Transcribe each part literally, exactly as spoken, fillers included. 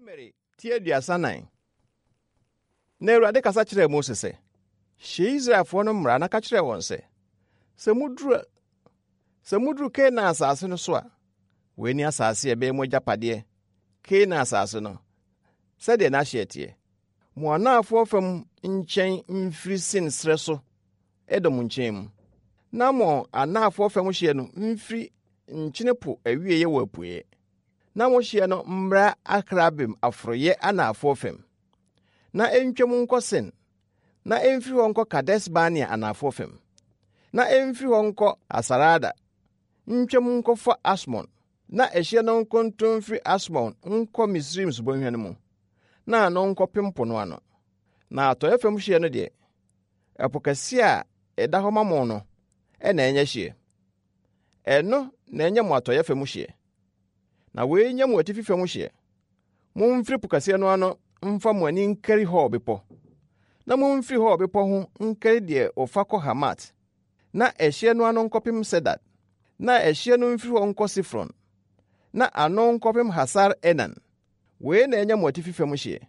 Numeri ti aduasa nan. Na Awurade kasa kyerɛɛ Mose sɛ, Hyɛ Israelfoɔ no mmara na ka kyerɛ wɔn sɛ, sɛ muduru sɛ muduru Kanaan asase no so a, wei ne asase a ɛbɛyɛ mo agyapadeɛ, Kanaan asase no, sɛdeɛ n'ahyeɛ teɛ. Mo anaafoɔ fam nkyɛn mfiri Sin serɛ so Edom nkyɛn mu, na mo anaafoɔ fam hyeɛ no mfiri Nkyene Po awieeɛ wɔ apueeɛ. Na mo hyeɛ no mmra Akrabim aforoeɛ anaafoɔ fam, na ɛntwam nkɔ Sin, na ɛmfiri hɔ nkɔ Kades-Barnea anaafoɔ fam, na ɛmfiri hɔ nkɔ Hasarada, ntwam nkɔfa Asmon, na ɛhyeɛ no nkonto mfiri Asmon nkɔ Misraim subɔnhwa no mu, na ano nkɔpem po no ano. Na atɔeɛ fam hyeɛ no deɛ, ɛpo kɛseɛ a ɛda hɔ ma mo no ɛna ɛnyɛ hyeɛ. Ɛno na ɛnyɛ mo atɔeɛ fam hyeɛ. Na wei nyɛ mo atifi fam hyeɛ. Momfiri po kɛseɛ no ano mfa mo ani nkari Hor bepɔ. Na momfiri Hor bepɔ ho nkari deɛ wɔfa kɔ Hamat, na ɛhyeɛ no ano nkɔpem Sedad, na ɛhyeɛ no mfiri hɔ nkɔ Sifron, na ano nkɔpem Hasar Enan. Wei na ɛnyɛ mo atifi fam hyeɛ.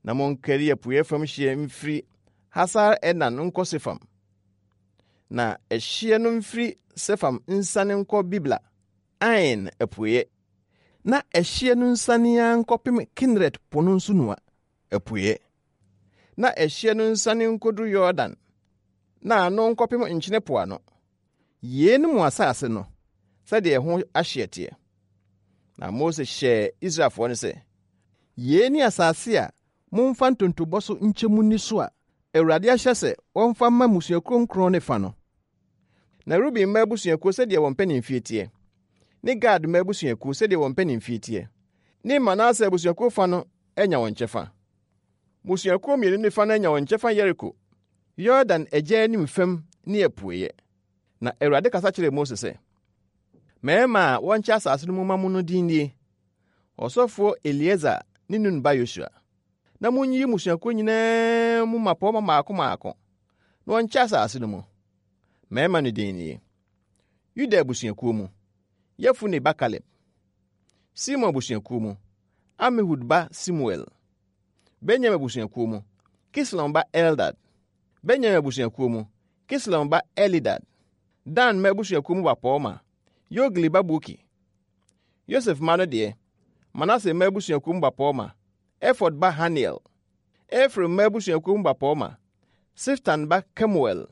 Na monkari apueeɛ fam hyeɛ mfiri Hasar Enan nkɔ Sefam. Na ɛhyeɛ no mfiri Sefam nsane nkɔ Bibla, Ain apueeɛ. Na ɛhyeɛ no nsane ara nkɔpem Kineret po no nsunoa, apueeɛ. Na ɛhyeɛ no nsane nkɔduru Yordan, na ano nkɔpem Nkyene Po ano. Yei ne mo asase no, sɛdeɛ ɛho ahyeɛ teɛ. Na Mose hyɛɛ Israelfoɔ no sɛ, yei ne asase a momfa ntontobɔ so nkyɛ mu nni so a Awurade ahyɛ sɛ wɔmfa mma mmusuakuo nkron ne fa no. Na Ruben mma abusuakuo sɛdeɛ wɔn mpanimfie teɛ, ne Gad mma abusuakuo sɛdeɛ wɔn mpanimfie teɛ, ne Manase abusuakuo fa no anya wɔn kyɛfa. Mmusuakuo mmienu ne fa no anya wɔn kyɛfa Yeriko, Yordan agya anim fam ne apueeɛ. Na Awurade kasa kyerɛɛ Mose sɛ, mmarima a wɔnkyɛ asase no mu ma mo no din nie, ɔsɔfoɔ Eleasar ne Nun ba Yosua. Na monyiyi mmusuakuo nyinaa mu mmapɔmma mmaako mmaako, na wɔnkyɛ asase no mu. Mmarima no din nie: Yuda abusuakuo mu, Yefune ba Kaleb. Simeon abusuakuo mu, Amihud ba Semuel. Benyamin abusuakuo mu, Kislon ba Eldad. Benyamin abusuakuo mu, Kislon ba Elidad. Dan mma abusuakuo mu bapɔmma, Yogli ba Buki. Yosef mma no deɛ, Manase mma abusuakuo mu bapɔmma, Efod ba Haniel. Efraim mma abusuakuo mu bapɔmma, Siftan ba Kemuel.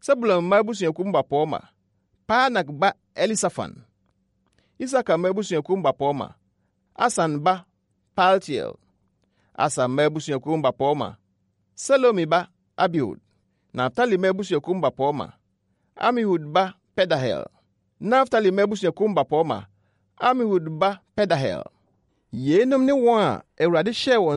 Sebulon mma abusuakuo mu bapɔmma, Parnak ba Elisafan. Isakar mma abusuakuo mu bapɔmma, Asan ba Paltiel. Aser mma abusuakuo mu bapɔmma, Selomi ba Abihud. Naftali mma abusuakuo mu bapɔmma, Amihud ba Pedahel. Naftali mma abusuakuo mu bapɔmma, Amihud ba Pedahel. Yeinom ne wɔn a Awurade hyɛɛ wɔn